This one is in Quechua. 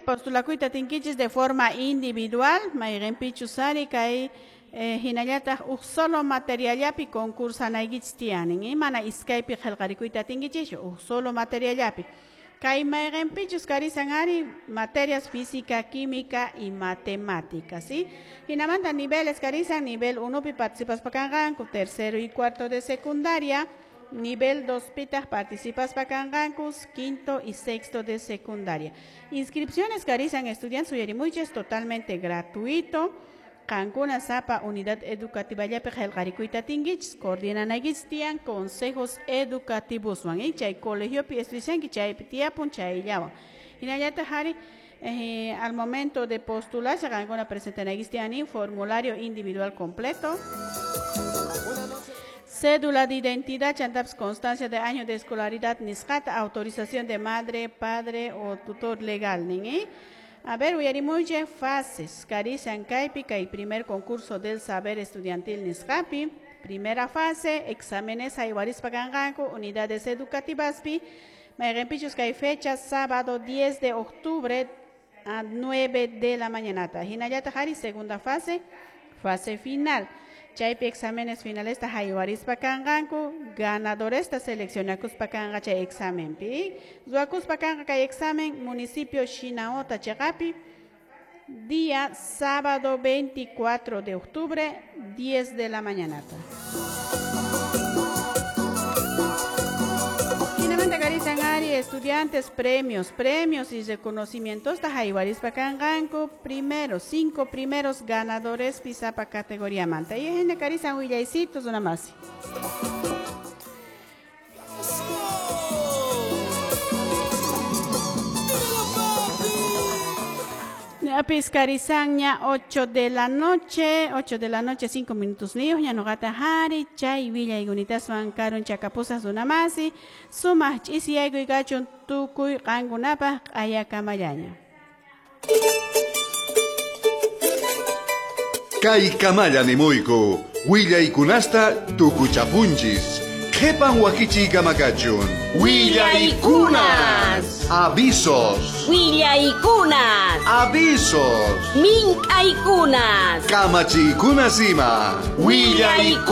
Postulakuyta atinkichis de forma individual, mayqinpichus ari kay hinallataq uj solo materiallapi concursanaykichis tiyanin, mana iskaypi qillqarikuyta atinkichischu, uj solo materiallapi. Kay mayqinpichus karisan ari materias física, química y matemáticas, ¿sí? Hinamanta niveles karisan, nivel 1 pi participaspa kanqanku, tercero y cuarto de secundaria, nivel 2 pitaq participaspa kanqanku, quinto y sexto de secundaria. Inscripciones karisan estudiantes uyarimuychis totalmente gratuito. Qankuna sapa unidad educativa llapi qillqarikuyta atinkichis, coordinanaykichis tiyan consejos educativoswan, chay colegiopi estudianki chaypi tiyapun chayllawan. Hinallataq ari al momento de postularse qankuna presentanaykichis tiyan formulario individual completo, cédula de identidad, chantapas constancia de año de escolaridad nisqata, autorización de madre, padre o tutor legal nin, A ver, uyarimuychik fases, karisan kaypi kay primer concurso del saber estudiantil nisqapi, primera fase, exámenes haywarispa kanqanku, unidades educativaspi, mayqinpichus kay fecha sábado 10 de octubre a 9 de la mañanata. Hinallataq ari segunda fase, fase final. Chaypi exámenes finalesta haywarispa kanqanku, ganadoresta seleccionakuspa kanqa chay examenpi. Ruwakuspa kanqa kay examen municipio Shinaota chiqapi, día sábado 24 de octubre, 10 de la mañanata. Hinamanta karisan ari estudiantes premios, premios y reconocimientos haywarispa kanqanku, primero, 5 primeros ganadores pisapa categoría manta. Y hina karisan willaysitos una más. Ñapis karisanña 8 de la noche, 8 de la noche, 5 minutos niyuq, ña nuqata hari, chay willaykunataswan karun chakapusaq runamasi, sumaq ch'isiyaykuy kachun tukuy qankunapaq q'ayakamallaña. Kay kamalla nimuyku, willaykunasta tukuchapunchis. Qhipan wakichiy kamakachun. Willaykunas. Avisos. Willaykunas. Avisos. Mink'aykunas. Kamachiykunas ima. Willaykunas.